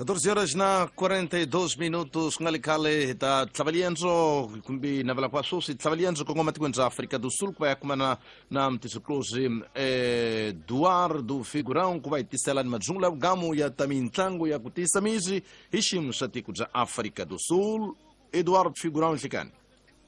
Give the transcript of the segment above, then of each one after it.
14 horas na 42 minutos ku nga li khale hi ta tlhava liendzo kumbe navela kwa sweswi tlhava liendzo kongoma tikweni bya Afrika do Sul ku va ya kumana na mutisiklozi Eduardo Figurão ku va hi tisela ni madzungulo ya vugamu ya ta mintlangu ya ku tiyisa misi hi xiyimo xa tiko bya Afrika do Sul. Eduardo Figurão, nhlikani.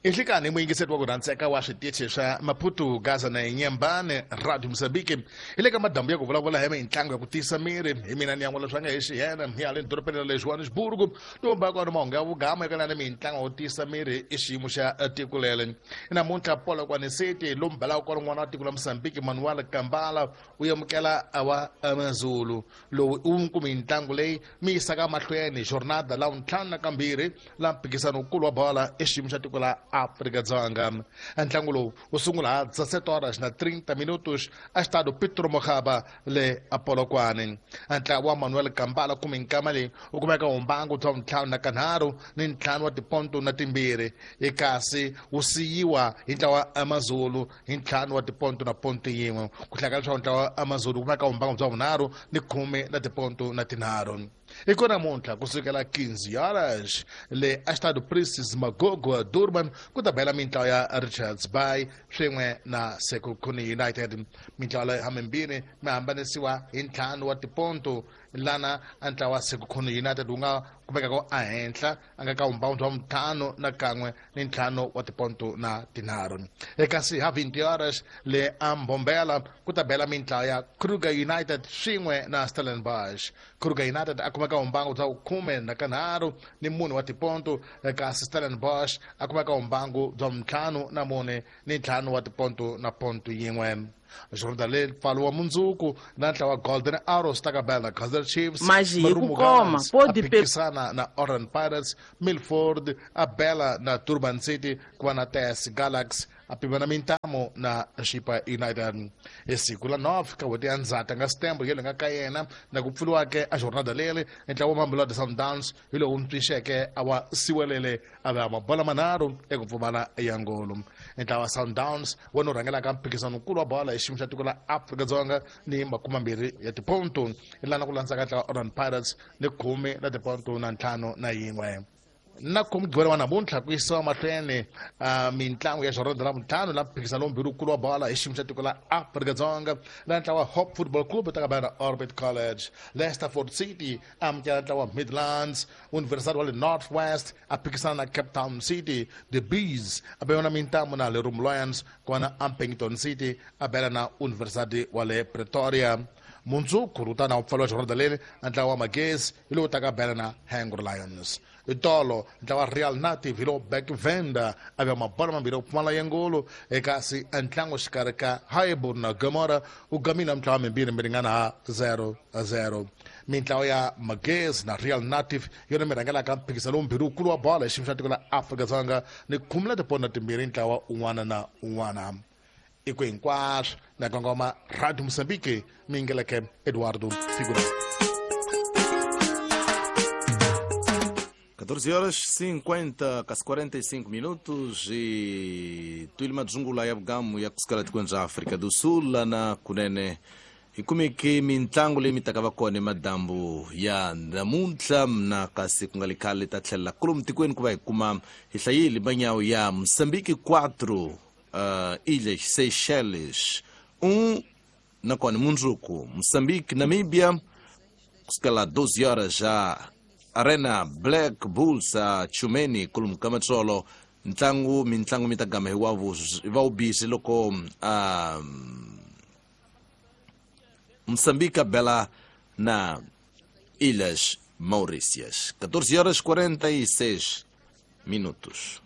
Inhlikani muyingiseri wa ku rhandzeka wa switichi swa Maputo, Gaza na Inyembane, Radio Mozambique. Hi le ka madambu ya ku vulavula hi mintlangu ya ku tiyisa miri. Hi mina ni yan'wala swa nga hi xiyena hi haleni dorobeni ra le Johannesburg. Lomba kwano mahungu ya vugama eka lani mintlangu ya ku tiyisa miri i xiyimo xa tiko leri. Namuntlha Polokwane City lombelaka kwalo n'wana wa tiko la Mozambique Manuel Kambala u amukela wa Amazulu. Lowu i wun'we kumbe mintlangu leyi mi yisaka mahlweni jornada la vuntlhanu na kambirhi la mphikizano wukulu wa bola i xiyimo xa tiko la Afrika-Dzonga. Ntlangu lowu wu sungula ha 17 horas na 30 minutos a xitado Petro Mokgaba le Polokwane. Ntlawa wa Manuel Kambala kumbe nkama leyi wu kumeka humbangu bya vuntlhanu na kanharhu ni ntlhanu wa tiponto na timbirhi, kasi wu siyiwa hi ntlawa wa Amazulu hi ntlhanu wa tiponto na ponto yin'we. Ku hlaya ka leswaku ntlawa wa Amazulu wu kumeka humbangu bya vunharhu ni khume na tiponto na tinharhu. I ko namuntlha kusukela 15 horas le Estado Princess Magogo Durban ku ta bela mintlawa ya Richards Bay swin'we na Sekhukhune United. Mintlawa leyi hamimbirhi mi hambanisiwa hi ntlhanu wa tiponto lana ntlawa wa Sekhukhune United wu nga kumekaka ehenhla a nga ka vumbhoni bya ntlhanu na kan'we ni ntlhanu wa tiponto na tinharhu. Kasi ha 20 horas le a Mbombela ku ta bela mintlawa ya Kruger United swin'we na Stellenbosch. Kruger United a kumeka vumbangu bya khume na kanharhu ni mune wa tiponto, kasi Stellenbosch a kumeka vumbangu bya ntlhanu na mune ni ntlhanu wa tiponto na ponto yin'we. Jordan le pfalo wa mundzuku na ntlawa Golden Arrows ta ka bela Kaizer Chiefs, Mas hi ku Marumo koma, Gallants pode a phikisana na Orlando Pirates, Milford a bela na Durban City, ku va na TS Galaxy a pimana mintamu na Chipa United. Hi siku la 9 ka n'hweti ya Ndzhati nga September yo lenga ka yena na ku pfuriwake a jornada leri ntlawa wa Mamelodi Sundowns hi lowu ntshunxeke a wa siwelele a va mabola manharhu eku pfumala ya ngolo. Ntlawa wa Sundowns wona wu rhangelaka mphikizano wukulu wa bola hi xiyimo xa tiko la Afrika-Dzonga ni makumambirhi ya tiponto, lana ku landzaka ntlawa wa Orlando Pirates ni khume la tiponto na ntlhanu na yin'we. Na khume Mugqivela wa namuntlha ku yisiwa mahlweni mintlangu ya jornada la vuntlhanu la mphikizano lombirhi wukulu wa bola hi xiyimo xa tiko la Afrika-Dzonga la ntlawa wa Hope Football Club ta ka na Orbit College. Leicesterford City amukela ntlawa wa Midlands, University wa le North West a phikisana na Cape Town City, The Bees a bela na mintamu na Lerum Lions, kona Ampington City a bela na University wa le Pretoria. Mundzuku wu ta na wu pfariwa jornada leri ntlawa wa Magesi hi lowu taka bela na Hangry Lions. Itolo ntlawa Real Native hi lowu Back Venda a va mabola mambirhi ku pfumala ya ngolo, kasi ntlangu xikarhi ka Highbury na Gomora wu gamile mintlawa mimbirhi mi ringana ha 0-0. Mintlawa ya Magesi na Real Native yona mi rhangelaka mphikizano lombirhi wukulu wa bola hi xiyimo xa tiko la Afrika-Dzonga ni khume na tipondo timbirhi ntlawa un'wana na un'wana. I ku hinkwaswo na kongoma Radio Mozambique mi yingeleke Eduardo Figura. 14 horas 50 kasi 45 minutos e tuile madzungula ya vugamu ya kusukela tikweni ra Afrika do Sul lana kunene hi kumeke mintlangu leyi mi taka va kona emadambu ya namuntlha na kasi ku nga li khale ta tlhelela kolomu tikweni ku va hi kuma hi hlayile manyawu ya Mozambique 4 Ilhas Seychelles 1 nakona mundzuku Mozambique Namibia kusukela 12 horas ja Arena Black Bulls a Chumeni kolomu ka matsolo ntlangu mintlangu mi ta gama hi wa vubisi loko Moçambique a bela na Ilhas Maurícias. 14 horas 46 minutos.